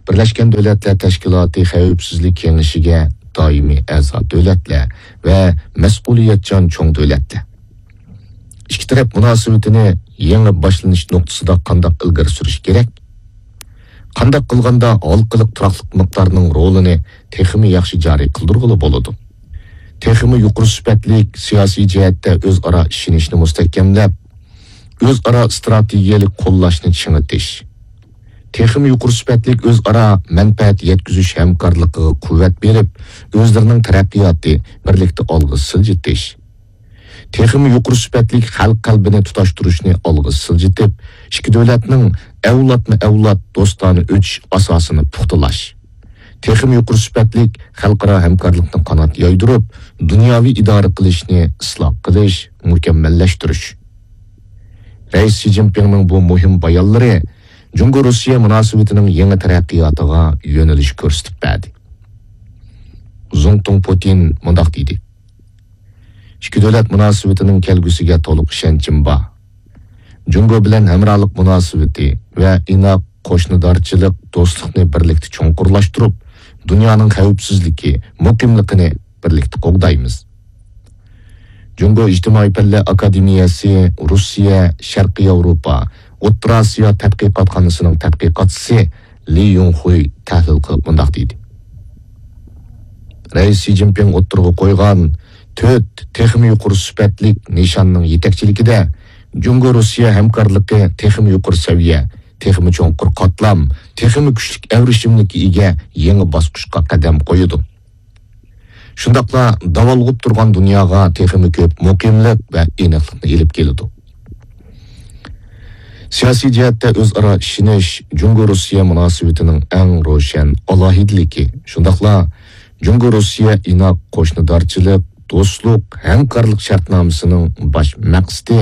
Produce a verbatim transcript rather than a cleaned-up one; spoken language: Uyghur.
بىرلەشكەن دۆلەتلەر تەشكىلاتى خەۋپسىزلىك كېڭىشىگە دائىمىي ئەزا دۆلەتلەر ۋە مەسئۇلىيەتچان چوڭ دۆلەتلەر. ئىككى تەرەپ مۇناسىۋىتىنى يېڭى باشلىنىش نۇقتىسىدا قانداق ئىلگىرى سۈرۈش كېرەك؟ قانداق قىلغاندا ھالقىلىق تۇراقلىق مىقدارنىڭ رولىنى تېخىمۇ ياخشى جارى قىلدۇرغىلى بولىدۇ؟ تېخىمۇ يۇقىرى سۈپەتلىك سىياسىي جەھەتتە ئۆزئارا ئىشىنىشنى مۇستەھكەملەپ، ئۆزئارا ئىستراتېگىيەلىك قوللاشنى چىڭىتىش، تېخىمۇ يۇقىرى سۈپەتلىك ئۆزئارا مەنپەئەت يەتكۈزۈش ھەمكارلىقىغا قۇۋۋەت بېرىپ، ئۆزلىرىنىڭ تەرەققىياتى بىرلىكتە ئالغا سىلجىتىش، تېخىمۇ يۇقىرى سۈپەتلىك خەلق قەلبىنى تۇتاشتۇرۇشنى ئالغا سىلجىتىپ، ئىككى دۆلەتنىڭ ئەۋلادمۇ ئەۋلاد دوستانە ئۆتۈش ئاساسىنى پۇختىلاش، تېخىمۇ يۇقىرى سۈپەتلىك خەلقئارا ھەمكارلىقنى قانات يايدۇرۇپ، دۇنياۋى ئىدارە قىلىشنى ئىسلاھ قىلىش، مۇكەممەللەشتۈرۈش. رەئىس شى جىنپىڭنىڭ بۇ مۇھىم بايانلىرى جۇڭگو-روسىيە مۇناسىۋىتىنىڭ يېڭى تەرەققىياتىغا يۆنىلىش كۆرسىتىپ بەردى. زۇڭتۇڭ پۇتىن مۇنداق دېدى: ئىككى دۆلەت مۇناسىۋىتىنىڭ كەلگۈسىگە تولۇق ئىشەنچىم بار. جۇڭگو بىلەن ھەمراھلىق مۇناسىۋىتى ۋە ئىناق قوشنىدارچىلىق، دوستلۇقنى بىرلىكتە چوڭقۇرلاشتۇرۇپ، دۇنيانىڭ خەۋپسىزلىكى، مۇقىملىقىنى بىرلىكتە قوغدايمىز. جۇڭگو ئىجتىمائىي پەنلەر ئاكادېمىيەسى روسىيە، شەرقىي ياۋروپا، ئوتتۇرا ئاسىيا تەتقىقاتخانىسىنىڭ تەتقىقاتچىسى لى يۇڭخۇي تەھلىل قىلىپ مۇنداق دېدى: رەئىس شى جىنپىڭ ئوتتۇرىغا قويغان تۆت تېخىمۇ يۇقىرى سۈپەتلىك نىشاننىڭ يېتەكچىلىكىدە، جۇڭگو-روسىيە ھەمكارلىقى تېخىمۇ يۇقىرى سەۋىيە، تېخىمۇ چوڭقۇر قاتلام، تېخىمۇ كۈچلۈك ئەۋرىشىملىككە ئىگە يېڭى باسقۇچقا قەدەم قويىدۇ. شۇنداقلا داۋالغۇپ تۇرغان دۇنياغا تېخىمۇ كۆپ مۇقىملىق ۋە ئېنىقلىقنى ئېلىپ كېلىدۇ. سىياسىي جەھەتتە ئۆزئارا ئىشىنىش جۇڭگو-روسىيە مۇناسىۋىتىنىڭ ئەڭ روشەن ئالاھىدىلىكى، شۇنداقلا جۇڭگو-روسىيە ئىناق قوشنىدارچىلىق، دوستلۇق، ھەمكارلىق شەرتنامىسىنىڭ باش مەقسىتى